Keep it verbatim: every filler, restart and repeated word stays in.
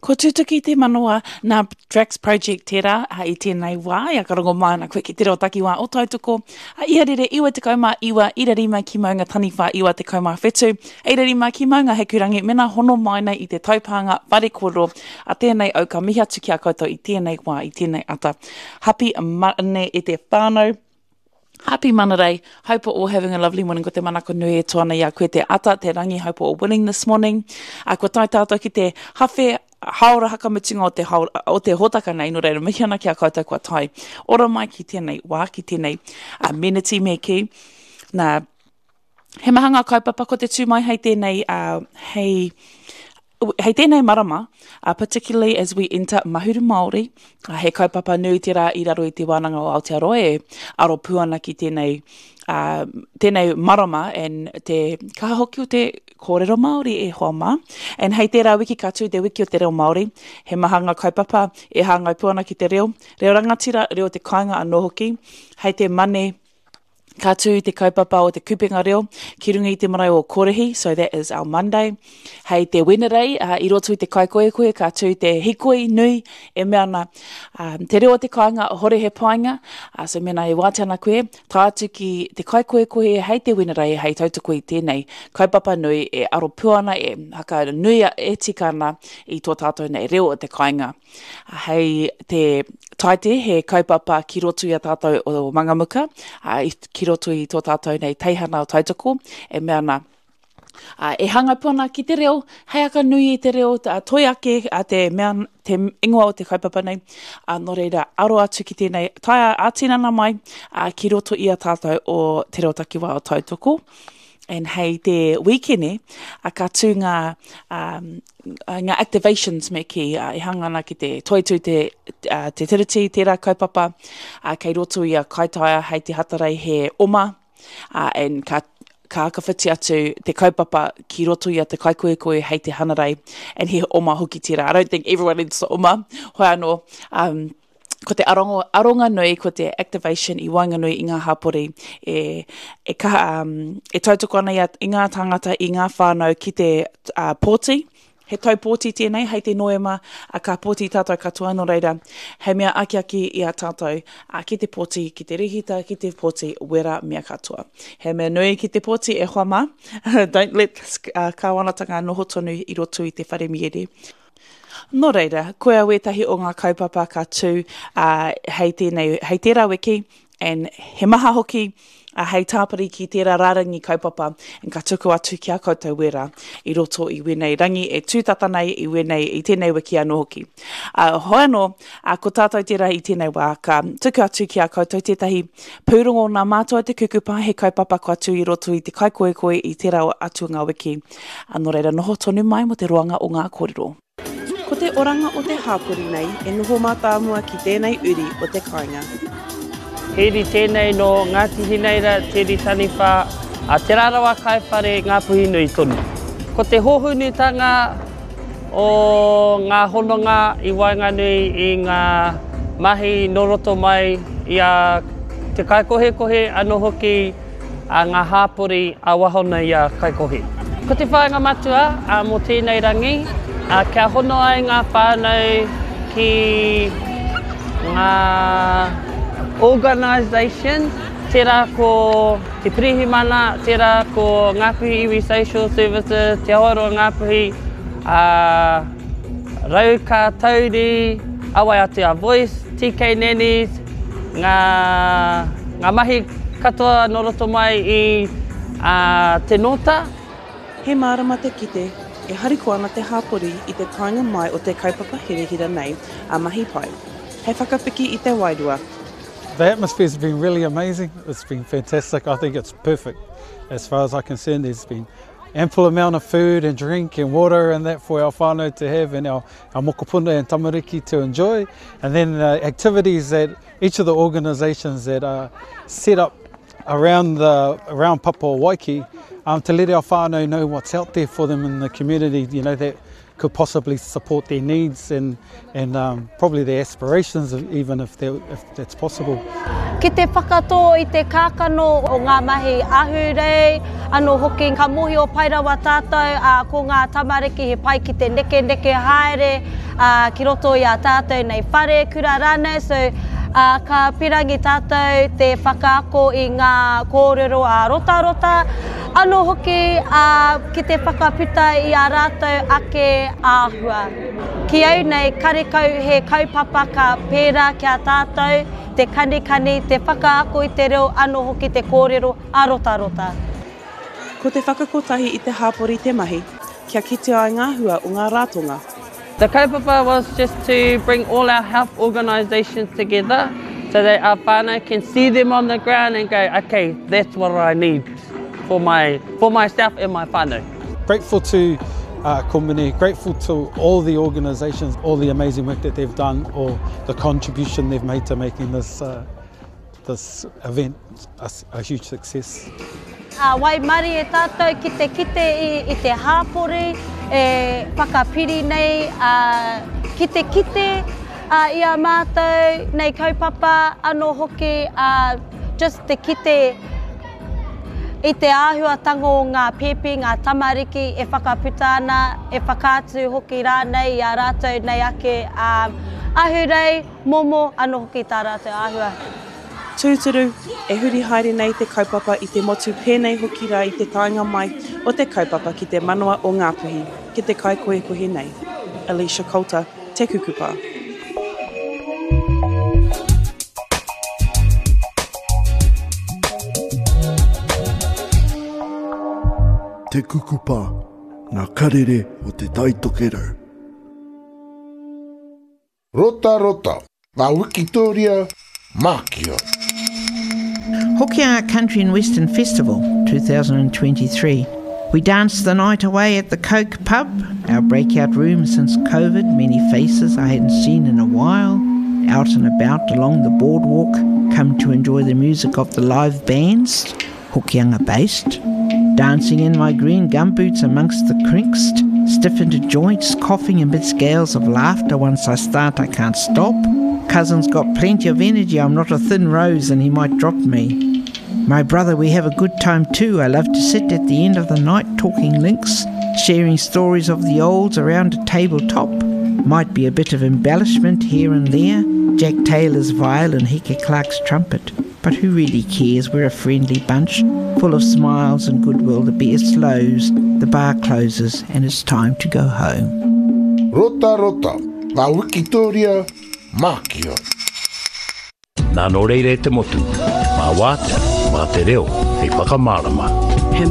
Ko Tutuki te Manawa nā Drax Project tērā i tēnei wā, ia ka rongo mai ana koe ki te reo takiwā o Tautoko, a Iharere iwa tekau mā iwa, ira rima ki Maunga Taniwha iwa tekau mā whetu, ira rima ki Maunga Hikurangi, mena hono mai nei i te taupānga whare kōrero a tēnei au ka mihi atu ki a koutou i tēnei wā, i tēnei ata. Hapi mane e te whānau. Happy Manarei, hope we're all having a lovely morning. Ko te manako nui e tō ana i a koe te ata, te rangi, hope we're all winning this morning. A kua tae tātou ki te hawhe, haora hakamutunga o te, haora, o te hōtaka nei, nō reira mihi ana ki a koutou kua tae. Ora mai ki tēnei wā, ki tēnei uh, meneti me kī. Nā, he maha ngā kaupapa ko te tū mai hei tēnei, uh, hei, hei tēnei marama, uh, particularly as we enter Mahuru Māori, uh, he kaupapa nui tērā i raro i te wānanga o Aotearoa e aro pū ana ki tēnei, uh, tēnei marama and te kaha hoki o te kōrero Māori e hoa mā. And hei tērā wiki ka tū te wiki o te reo Māori, he maha ngā kaupapa e hāngai pū ana ki te reo, reo rangatira, reo te kāinga anō hoki, hei te mane ka tū te kaupapa o te kupenga reo ki runga i te marae o Korihi, so that is our Monday. Hei te Wenerei, uh, i roto i te kaikoekoe, ka tū te hikoi nui e mea ana um, te reo o te kāinga, hore he painga, uh, so mena e wātea ana koe, tae atu ki te kaikoekoe hei te Wenerei, hei tautoko i tēnei kaupapa nui e aro pū ana, e haka nui e tika ana i tō tātou nei reo o te kāinga. Hei te Taite, he kaupapa ki roto i a tātou o Mangamuka, uh, ki roto i tō tātou nei teihana o Tautoko, e mea ana, uh, e hanga pū ana ki te reo, hei aka nui i te reo, uh, toi ake uh, te, mea, te ingoa o te kaupapa nei, uh, nō reira aro atu ki tēnei, taea ā-tinana mai uh, ki roto i a tātou o te reo takiwā o Tautoko. And hei te wīkene, uh, ka tū ngā, um, ngā activations me kī, uh, e hanga ana ki te toitū te, uh, te tiriti, tērā kaupapa, uh, kei roto i a Kaitaia hei te Hatarei he oma, uh, and ka, ka akawhiti atu te kaupapa ki roto i a te kaikoekoe hei te Hanarei, and he oma hoki tērā. I don't think everyone needs to oma, hoi anō, um, ko te arongo, aronga nui, ko te activation i waenganui i ngā hapori e, e, kaha, um, e tautoko ana i, a, i ngā tāngata, i ngā whānau ki te uh, pōti. He tau pōti tēnei, hei te Noema, a ka pōti tātou katoa nō reira, hei mea akiaki i a tātou a, ki te pōti, ki te rihita, ki te pōti, wera mea katoa. He mea nui ki te pōti e hoa mā, don't let uh, kāwanatanga noho tonu i roto i te whare miere. Nō reira, koia wētahi o ngā kaupapa ka tū uh, hei, tēnei, hei tērā wiki, and he maha hoki uh, hei tāpiri ki tērā rārangi kaupapa, and ka tuku atu ki a koutou wera i roto i wēnei rangi e tūtata nei i wēnei, i tēnei wiki anō hoki. Uh, hoi anō, uh, ko tātou tērā i tēnei wā, ka tuku atu ki a koutou tētahi pūrongo nā mātou te kukupa, he kaupapa kua tū i roto i te kaikoekoi i tērā atu ngā wiki. Uh, nō reira, noho tonu mai mo te roanga o ngā kōrero. Ko te oranga o te hāpori nei e noho mātāmua ki tēnei uri o te kāinga. He uri tēnei no Ngāti Hineira, Te Uri Taniwha, a Te Rarawa Kaiwhare, Ngāpuhi nui tonu. Ko te hōhunutanga o ngā hononga i waenganui i ngā mahi nō roto mai i a te kaikohekohe anō hoki a ngā hāpori a waho nei a Kaikohe. Ko te whāinga matua a, mō tēnei rangi, a, kia hono ai ngā whānau ki ngā organisation, tērā ko te Pirihimana, tērā ko Ngāpuhi Iwi Social Services, Te Awaroa Ngāpuhi, a, Rauka Tauri, Awai Atea Voice, T K Nannies, ngā, ngā mahi katoa nō roto mai i a, te nōta. He mārama te kite, e hariko ana te hāpori i te taenga mai o te kaupapa hirahira nei a Mahi Pai. Hei whakapiki i te wairua. The atmosphere's been really amazing. It's been fantastic. I think it's perfect. As far as I'm concerned, there's been ample amount of food and drink and water and that for our whānau to have and our, our mokopuna and tamariki to enjoy. And then the activities that each of the organisations that are set up around the around Papua Waiki um, to let our whānau know what's out there for them in the community, you know, that could possibly support their needs and, and um, probably their aspirations, even if, if that's possible. Ki te whakatō i te kākano o ngā mahi ahurei, anō hoki ka mohi o pairawa tātou, uh, ko ngā tamariki he pai ki te neke neke haere uh, ki roto i a tātou nei whare, kura rānei, so uh, ka pirangi tātou te whakaako i ngā kōrero a rotarota, anō hoki uh, ki te whakaputa i a rātou ake āhua. Ki au nei, karekau he kaupapa ka pērā ki a tātou, te kanikani, te whakaako i te reo, anō hoki te kōrero a rotarota. Ko te whakakotahi i te hāpori te mahi, kia kite ai ngā hua o ngā rātonga. The kaupapa was just to bring all our health organisations together so that our whānau can see them on the ground and go, okay, that's what I need for my for myself and my whānau. Grateful to uh, Komene, grateful to all the organisations, all the amazing work that they've done, or the contribution they've made to making this, uh, this event a, a huge success. Uh, waimari e tātou ki te kite i, i te hāpori, e whakapiri nei, uh, ki te kite uh, i a mātou, nei kaupapa, anō hoki, uh, just te kite i te āhuatanga o ngā pēpi, ngā tamariki e whakaputa ana, e whakaatu hoki rānei i a rātou nei ake um, ahurei, momo, anō hoki tā rātou āhua. Tūturu, e huri haere nei te kaupapa i te motu pēnei hoki rā i te taenga mai o te kaupapa ki te manawa o Ngāpuhi, ki te kaikohekohe nei. Alicia Coulter, Te Kukupa. Te Kukupa, ngā karere o te Taitokerau. Rota rota, ngā Wikitoria, Mākia. Hokianga Country and Western Festival twenty twenty-three. We danced the night away at the Coke Pub, our breakout room since COVID, many faces I hadn't seen in a while, out and about along the boardwalk, come to enjoy the music of the live bands, Hokianga based, dancing in my green gumboots amongst the crinks, stiffened joints, coughing amidst gales of laughter. Once I start, I can't stop. Cousin's got plenty of energy. I'm not a thin rose and he might drop me. My brother, we have a good time too. I love to sit at the end of the night talking links, sharing stories of the olds around a tabletop. Might be a bit of embellishment here and there. Jack Taylor's violin, Heke Clark's trumpet. But who really cares? We're a friendly bunch, full of smiles and goodwill. The beer slows, the bar closes, and it's time to go home. Rota rota, ngā Wikitoria, Mākia. Nā nō reire te motu, mā wātea, mā te reo, hei whakamārama. He